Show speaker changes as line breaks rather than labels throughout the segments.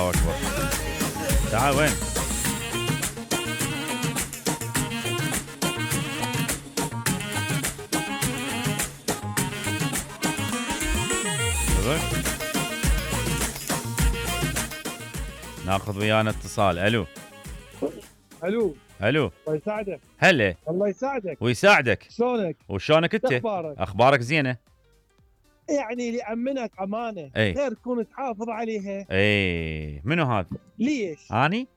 الله اكبر. تعال وين؟ ناخذ ويانا اتصال. الو
الو
الو.
الله يساعدك.
هلا.
الله يساعدك
ويساعدك.
شلونك؟
وشلونك انت؟ اخبارك زينه؟
يعني اللي امنك امانه غير تكون تحافظ عليها.
منو هذا؟
ليش؟
اني؟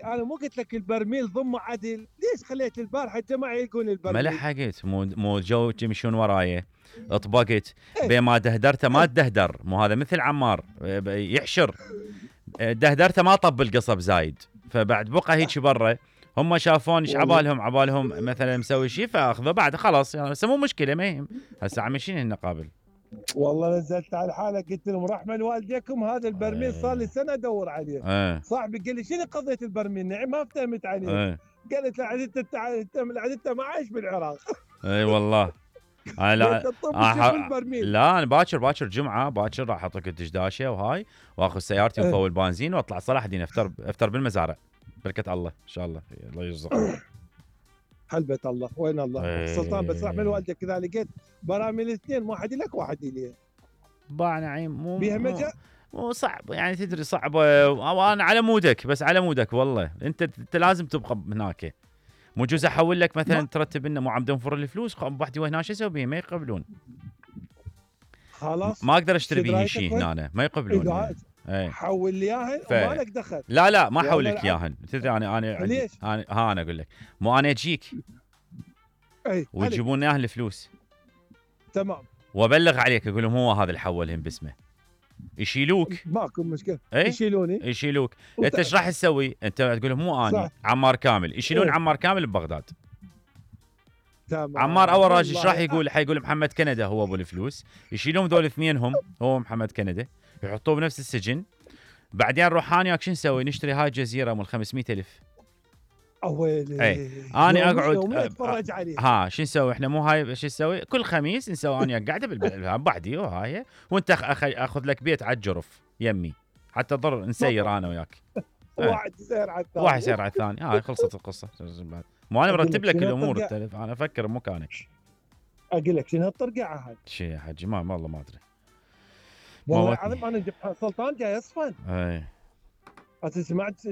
انا مو قلت لك البرميل ضمه عدل، ليش خليت البارحه الجماعه يلقون البرميل؟
ما لحقت، مو جو يمشون وراي، اطبقت بين ما دهدرته ما تدهدر، مو هذا مثل عمار يحشر، دهدرته ما طب القصب زايد، فبعد بقى هيك برا. هم شافون ايش عبالهم مثلا مسوي شيء فاخذه بعد خلاص يعني، هسه مو مشكله ما يهم، هسه عايشين هنا قابل.
والله نزلت على حالك قلت لهم رحمه لوالديكم، هذا البرميل صار لي سنه ادور عليه. صاحبي قال لي شنو قضيت البرميل؟ نعم ما فهمت عليه. قالت له عاد انت ما عايش بالعراق.
اي والله. لا انا باكر جمعه باكر راح احط لك الدشداشه وهاي، واخذ سيارتي وفول بنزين واطلع صلاح الدين افطر بالمزارع. بركه الله ان شاء الله، الله يرزقك.
حلبة الله وين الله. سلطان بس رحمه لوالدك كذا لقيت براميل اثنين، واحد لك واحد لي.
نعيم مو صعب يعني، تدري صعبه، وانا على مودك، بس على مودك والله. انت لازم تبقى هناك، مو جوز احول لك مثلا ترتب لنا، مو عم تنفر الفلوس بوحدي وهنا شو اسوي بيه؟ ما يقبلون.
خلاص
ما اقدر اشتري بيه شيء هنا، ما يقبلون.
حول لي اياهن وما لك دخل.
لا ما احول لك اياهن، تدري انا
ليش؟
انا اقول لك، مو انا اجيك ويجيبون اياه الفلوس
تمام،
وابلغ عليك اقول لهم هو هذا اللي حولهم باسمه، يشيلوك.
ماكو مشكله. يشيلوني.
انت ايش راح تسوي؟ انت تقول لهم مو انا عمار كامل، يشيلون عمار كامل ببغداد.
تمام.
عمار اول راجل ايش راح يقول؟ حيقول محمد كندا هو ابو الفلوس، يشيلون ذول اثنينهم هو محمد كندا، يحطوه بنفس السجن. بعدين نروح انا وياك شو نسوي؟ نشتري هاي الجزيره مال 500,000.
اويلي
انا اقعد
اتفرج عليه.
شو نسوي احنا؟ مو هاي شو نسوي؟ كل خميس نسوي انا قاعده بعدي وهاي، وانت اخذ لك بيت على الجرف يمي حتى ضر نسير انا وياك.
واحد يسير على
الثاني. هاي خلصت القصه. مو انا مرتب لك الامور، انا افكر بمكانك.
اقول لك شنو هالطرقعه هاي؟
شو يا حجي؟ ما والله ما ادري
والله العظيم. انا سلطان جاي اصفن.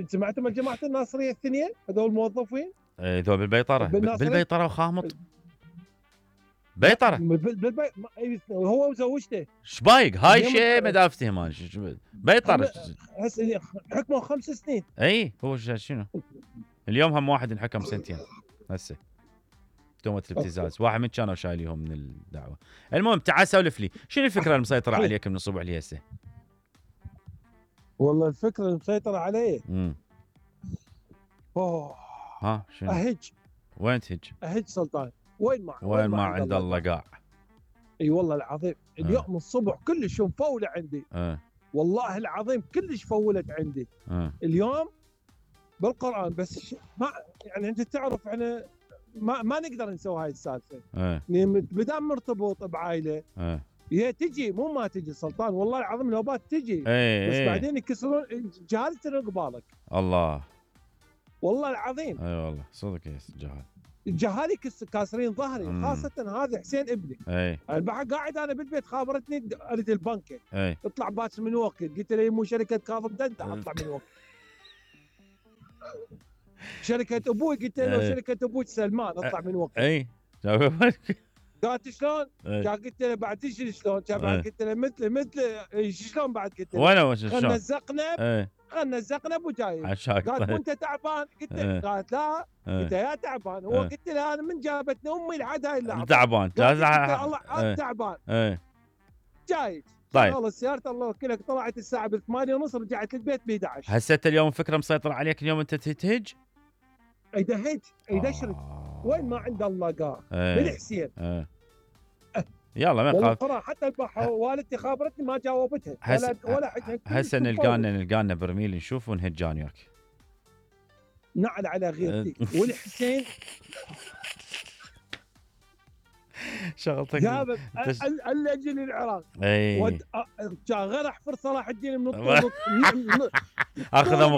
سمعتوا من جماعه الناصريه الاثنين هذول الموظفين؟
ذول بالبيطره وخامط بيطره.
هو وزوجته.
شبايق هاي شيء ما افتهم انا. بيطره
هسه حكموا 5 سنين.
هو شنو اليوم هم واحد انحكم 2 سنين هسه تهمة الابتزاز. واحد من كانوا شايليهم من الدعوه. المهم تعال سولف لي، شنو الفكره المسيطره عليك من الصبح لي هسه؟
والله الفكره المسيطره علي
شنو؟
اهج.
وين تهج؟
اهج سلطان. وين
ما عند الله قاع.
اي والله العظيم. اليوم الصبح كلش مفوله عندي. والله العظيم كلش فولت عندي. اليوم بالقران بس ما يعني انت تعرف احنا ما نقدر نسوي هاي السالفه. بدام مرتبط بعائله هي تجي مو ما تجي سلطان، والله العظيم نوبات تجي. بس بعدين يكسرون جهالة قبالك. الله والله العظيم.
والله صدق جهال.
الجهال كاسرين ظهري. خاصة هذا حسين ابني. البحر قاعد انا بالبيت خابرتني اريد البنكه. اطلع باكر من وقت، قلت له مو شركة كاظم دنتا اطلع من وقت. شركة ابوي قلت له شركة ابوي سلمان اطلع من وقت. قالت شلون؟ قلت له بعد تدري شلون؟ بعد قلت له مثل شلون بعد قلت له
وين شلون؟
خلنا الزقنب وجاي. قالت وانت تعبان؟ قلت له قالت لا. قلت يا تعبان. هو قلت له انا من جابتني امي لحد هاي اللحظه
تعبان.
الله تعبان. جاي
طيب
خلص سيارة الله وكلك طلعت الساعة 8:30 رجعت البيت ب 11.
هسه اليوم فكرة مسيطرة عليك اليوم انت تهج؟
ايدهج ايدشرد. وين ما عند الله قاع بالحسين.
يلا ما
يخاف. حتى البحر والدتي خابرتني ما جاوبتها ولا حد.
هسه نلقانا برميل نشوف ونهجان وياك.
نعل على غيرتي والحسين.
شغلتك
جابت الاجل العراق.
اي
غير احفر صلاح الدين من
اخذ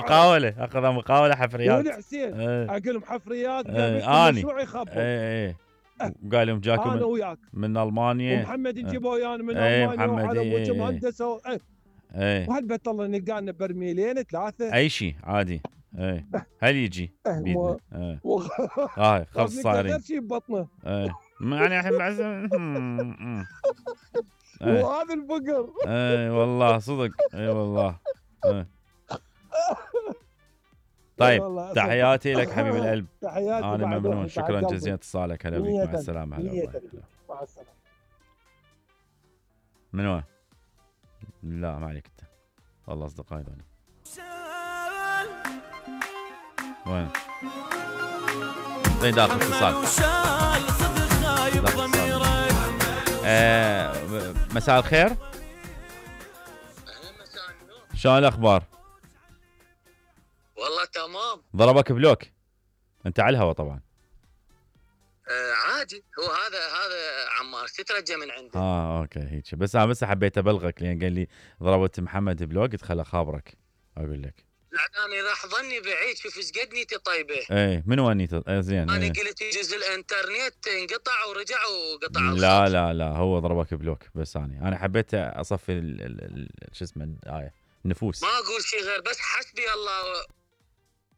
مقاوله حفريات.
ولي حسين اقول لهم حفريات مشروع يخبط.
اي قال لهم جاكم
انا وياك
من المانيا،
ومحمد نجيبه ويانا من المانيا، وعلى مهندسه وهالبيت الله نلقانا برميلين 3
اي شيء عادي. هل يجي بيدنا خلص صايرين
غير شيء ببطنه
يعني الحين
وهذا الفقر.
والله صدق. والله. طيب تحياتي لك حبيب القلب.
تحياتي.
انا ممنون، شكرا جزيلا اتصالك. هلا بك، مع السلامه. هلا
مع السلامه.
من وين؟ لا ما عليك انت، والله اصدقائي ذولي. وين؟ زين داخل اتصال. مساء الخير. شلون الاخبار؟
والله تمام.
ضربك بلوك انت على الهوا طبعا.
عادي، هو هذا عمار تترجى من عنده.
اوكي هيك، بس انا حبيت ابلغك لان قال لي ضربت محمد بلوك، قلت خل اخابرك اقول لك.
لا انا راح ظني بعيد، شوف ايش قد نيتي طيبه.
من وين نيتي؟ زين.
انا قلت يجوز الانترنت انقطع ورجع وقطع.
لا هو ضربك بلوك، بس انا حبيت اصفي شو اسمه النفوس.
ما اقول شيء غير بس حسبي الله